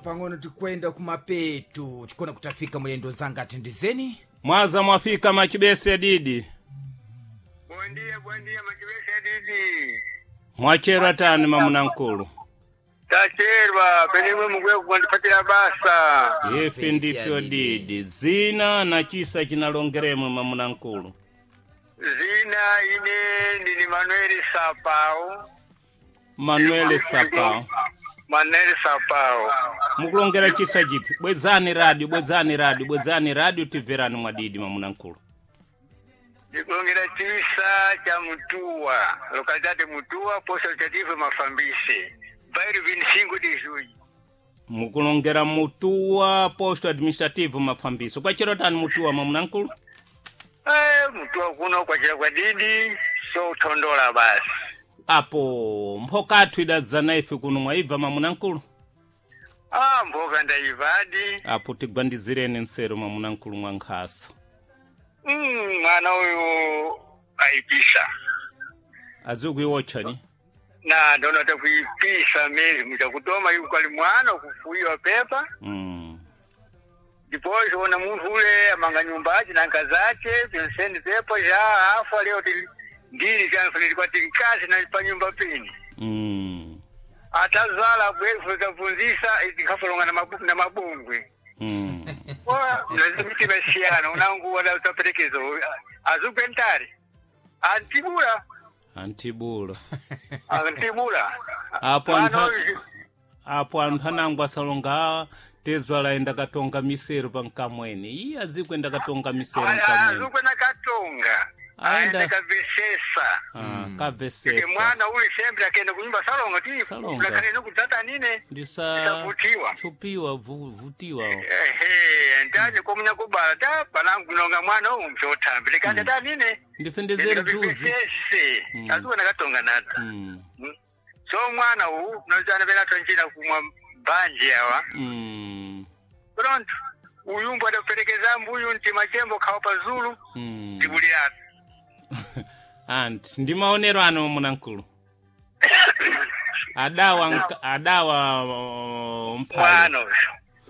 pang'ono tikwenda kumapetu tikona kutafika mulendo zanga atendezeni. Mwaza mwafika machibese didi. Bom dia, bom dia, machibese didi. Mwachera tani mamunankulu. Tacherwa, penimwe mukwe kukwandipatira basa. Ifi ndifyo didi. Zina na chisa chinalongeremwe mamunankulu. Zina ine ndini Manuel Sapao. Manuel Sapao. Manuel Sapao. Mukulongera chisa chipi? Bwezani radio, bwezani radio, bwezani radio timverani mwadidi mamunankulu. Ndikulongera chisa cha Mutua, localidade Mutua, posto administrativo Mafambise. Bairro 25 de Junho. Mukulongera Mutua posto administrativo Mafambiso. Kwachero tani Mutua mamunankulu? Eh, Mutua kuno kwachera kwa didi, so utondola basi. Apo mphokathu idazana ife kuno mwaibva mamunankulu. Ah, mboka ndaivadi. Apo tigwandizireni nsero mamunankulu mwa nkhasa. Mwana uyu aipisa. Azikuiwotchani? Na ndona takuipisa mezi muchakutoma iku kali mwana kufuiwa pepa. Depois ona munthu ule amanga nyumba ace na nkazi ace penseni pepa já afa leo ti ndili chanfaniri kwati nkazi na pa nyumba pini. Atazala bwefu tabvunzisa tinkafolonga na mabungwe. Mitima siyana unangu wada utaperekezo azukwentari antibula. Antibula. Antibula. Apo Mwana anthu uyu- apo anthu anango asalonga tezwa laenda katonga misero pa nkamweni. Iye azikwenda katonga misero nkamweni. Azukwena katonga. Aenda. Aenda kabvesesa. Ah, Ike kabvesesa. mwana uli sempre akenda kunyumba salonga ti Salonga. ngakhale nokutata nine. Ndisa Ndisavutiwa. chupiwa vutiwa. Ehe, ndanye komunya kubala ta palangu nonga mwana uyu mchothambi likanda ta nine. Ndifendezere duzi. Ndikabvesese. Azukwena katonga nata. So mwana uyu nozana pena tonjira kumwa banje awa. Pronto. Uyumbu adaperekeza mbuyu nti machembo khawa pazulu. Tibuliratu. Anti ndi maonero ano munankulu. Adawa adawa mphayi. Mwana uyu.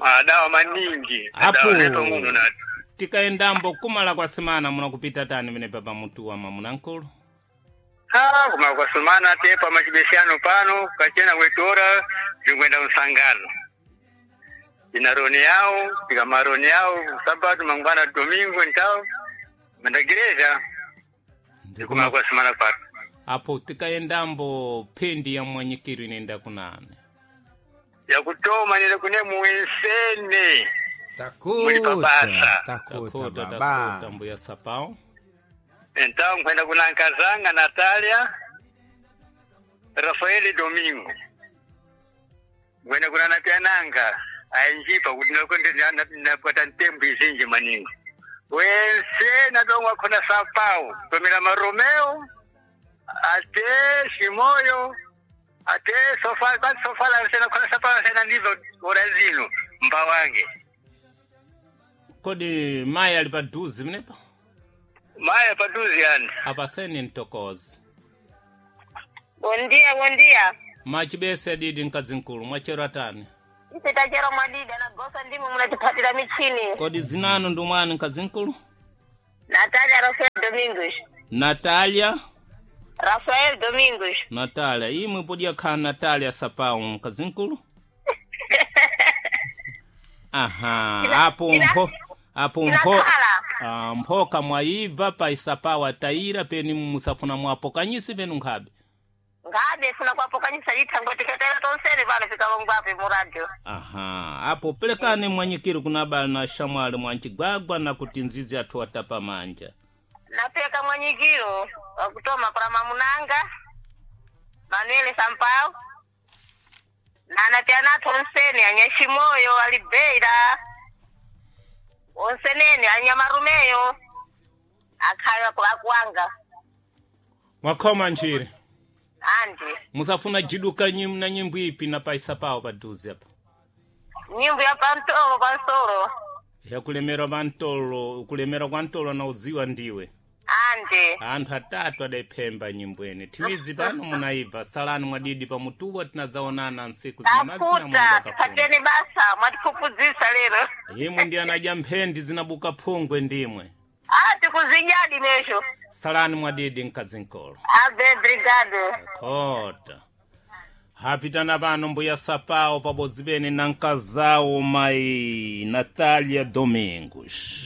Adawa maningi. Apo. Adawa neto muno nati. Tikaendambo kumala kwa semana munakupita tani mene papa mutuwa mamunankulu. Ah, kuma kwa sumana tepa machibesiano pano kachena kwetora zingwenda msangano ina roni yao tika maroni yao sabatu mangwana domingo ntao mandagereza kuma kwa sumana pano. Apo tikaendambo phindi ya mwanyikiru inenda kunane. Yakutoma nile kune muensene. Muli Takuta papasa. takuta Takuta baba. takuta mbuya Sapao. Então kwenda kuna nkazanga Natalia Rafaeli Domingo kwenda kuna napiananga ainjipa kuti napata ntembo izinji maningi wense natongwa khona Sapao tomela maromeo ate Shimoyo ate sofala basi sofala sena khona Sapao sena ndivyo ora zino mbawange. Kodi mayi ali paduzi mnepa? Maya paduzi yani. Apaseni mtokozi. Bom dia, bom dia. Machibese adidi mkazinkulu mwachero atani. Ife tachero mwadida na gosa ndimo munatiphatira michini. Kodi zinanu ndi mwani mkazinkulu? Natalia Rafael Domingos. Natalia. Rafael Domingos. Natalia imwe podya khala Natalia Sapao mkazinkulu. Aha, apo mpho apo mpho Inakhala. ah, mphoka mwayibva pa isapao atayira peni musafuna mwapokanyisi penu nkhabe. Ngabe funa kwapokanyisa lithango tikatera tonsene pano fikalongwape mu radio. Aha, apo pelekani mwanyikiri kunaba na shamwali mwanchigwagwa na kuti nzizi athu atapa manja. Napeka mwanyikiro wakutoma kwa mamunanga Manuel Sampao na anapiana tonsene anyashimoyo alibeira onsenene anyamarumeyo akhayo akuwanga. Mwakhoma nchire. Andi. Musafuna jiduka nyim na nyimbo ipi na paisa pawo paduze apa. Nyimbo ya pantolo pansolo. Yakulemera pantolo, kulemera kwa ntolo na udziwa ndiwe. Ande. Anthu atatu adayiphemba nyimbweni thimizi pano munayibva salani mwadidi pamutuwa tinadzaonana nsiku zinamazina Mulungu Takuta, akafuna. tipateni basa, mwatiphuphuzisa lero. Imwe ndi anadya mphendi zinabuka phungwe ndimwe. Ah, tikuzinyadi nesho. Salani mwadidi mkazinkolo. Abe, brigade. Kota hapitana pano mbuya Sapao pabodzi pene na mkazawo mayi Natalia Domingos.